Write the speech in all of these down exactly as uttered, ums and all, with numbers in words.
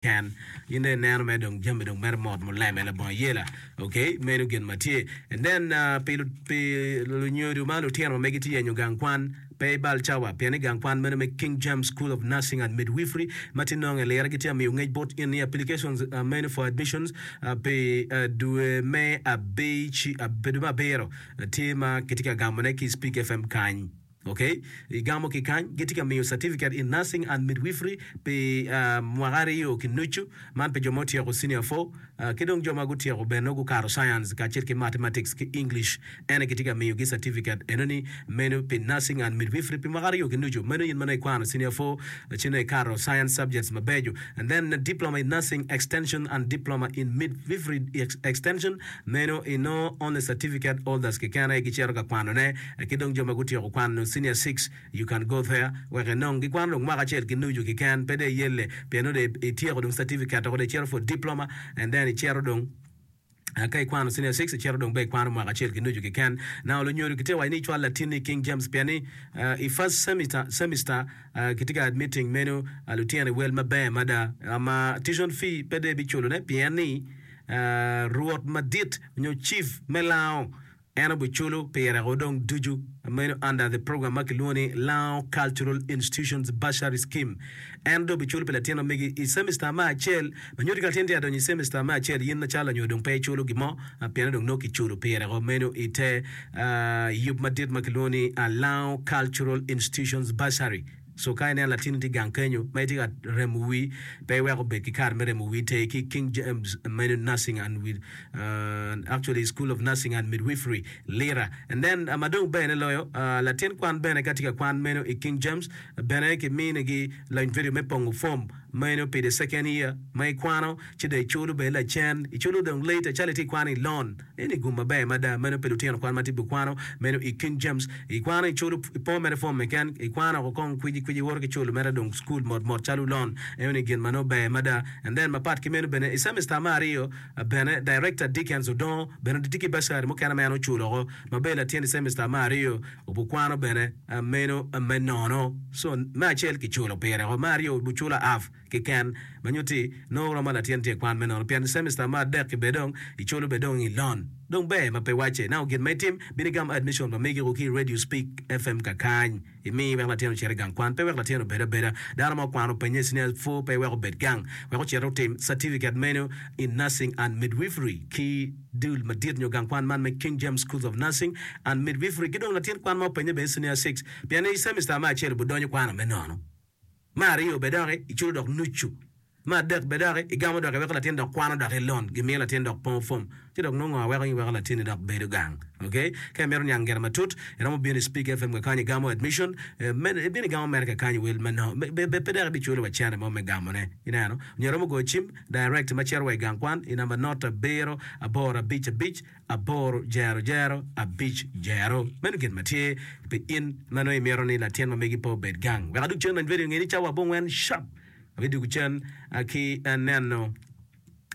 Ken in dong ineno mere dong jami dong mere mot muleme labongo ayela ok meno gin ma tye and then pi pi lunyodo ma lutino ma megi tye yenyo gang kwan pe ibal cawa pien ni gang kwan meno me King James School of Nursing and Midwifery ma tye nongo i lira gitye ka miyo ngec bot in ni applications meno for admissions pi dwe me abic dwe me abiro tye ma kitye ka gamone ki Speak F M kany. Ok, igamo ki kany, gitye ka miyo certificate in nursing and midwifery pi mwaka aryo ki nucu, man pi jo ma otyeko senior four ki dong jo ma gutyeko bene nongo gukato science kacel ki mathematics ki English. Ene kitye ka miyogi certificate enoni meno pi nursing and midwifery pi mwaka aryo ki nucu. Meno in ma nongo ikwano senior four ci nongo ikato science subjects mabeco. And then diploma in nursing extension and diploma in midwifery extension meno inongo only certificate holders keken aye gicito ka kwanone ki dong jo ma gutyeko kwano senior six, you can go there wek inong gikwano dong mwaka acel ki nucu keken pe dong iyelle pien nongo dong ityeko dong certificate dok dong icito for diploma and then icito dong ka ikwano senior six icito dong bene ikwano mwaka acel ki nucu keken. Now lunyodo gitye ka waco ni icwal latinni i King James pien ni i first semester semester kitye ka admitting meno lutino i wel maber mada ma tuition fee pe dong ibiculone pien ni rwot madit nyo chief me lango en obiculo pire o dong ducu meno under the program ma kilwongo ni Lango Cultural Institutions Bursary Scheme. En dong obiculo pi latin ma megi i semester me acel ma nyuto ka latin tye ka donyo i semester me acel in macalo lanyodo dong pe iculo gin mo pien dong nongo kiculo pire o meno i te yub madit ma kilwongo ni Lango Cultural Institutions Bursary. So ka ineno latinni tye gang kenyo ma itye ka remo wii, pe iwek obed ki kare me remo wii ter ki King James meno Nursing and with actually School of Nursing and Midwifery Lira. And then ma dong bene loyo latin kwan bene ka tye ka kwan meno i King James bene ki minigi lony video me pongo form meno pi the second year ma ikwano ci dong iculo bene lacen iculo dong later calo itye ikwano i loan eni gum maber mada meno pi lutino kwan ma tye pi kwano meno i King James ikwano iculo ipongo mere form keken ikwano oko kong kwiji kwiji iwoto ki culo mere dong school mot mot calo loan eno ni gin ma nongo ber mada. And then mapat ki meno bene i semester me aryo bene director Dickens Odongo bene tye ki bursary mukene ma en oculo oko ma ber latin i semester me aryo obukwano bene meno me nono. So me acel kiculo pire oko, me aryo obuculo half keken ma nyutti nongo romo latin tye i kwan me nono pien semester me adek-ki bene dong iculo bene dong i loan dong ber ma pe wacce. Now gin ma itim bin igam admission pa megi ki i Radio Speak F M kakany imi wek latin ocit i gang kwan pe wek latin obed abeda. Dano ma okwano openye senior four pe wek obed gang wek ocit otim certificate meno in nursing and midwifery ki dul madit nyo gang kwan man me King James Schools of Nursing and Midwifery ki dong latin kwan ma openye bene senior six pien i semester me acel obidonyo kwano me nono me aryo bene doki iculo dok nucu me adek bene doki igamo dok iweko latin dok kwano dok i loan gimiyo latin dok pongo form ci dok nongo aweko in iweko latinni dok bedo gang. Ok, ka imito niang gire matut iromo bino i Speak F M kakany igamo admission ibino igamo mere kakany wel me no pe dok ibiculo wa cene mo me gamone ineno nyo iromo goyo cim direct ma cito wa i gang kwan i namba not abiro aboro abic abic aboro jero jero abic jero. Meno gin ma tye pi in ma nongo imito ni latin ma megi pe obed gang. Wek adug cen lony vedio nge ni cawa abongwen sharp abidwogo cen ki neno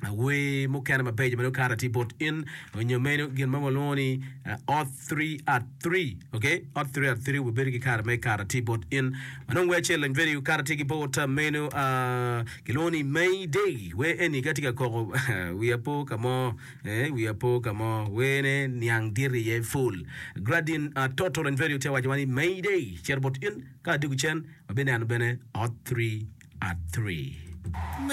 wer mukene mabeco ma nongo kare tye bot in onyo meno gin ma walwongo ni ot three at three. Ok, ot three at three wabedo ki kare me kare tye bot in ma nongo wer acel lony vedio kare tye ki bot meno kilwongo ni Mayday. Wer eni ka tye ka koko wiya po ka mo wiya po ka mo werne niang dit iye full gradin toto lony vedio tye waco wa ni Mayday cito bot in ka adwogo cen wabineno bene ot three at three.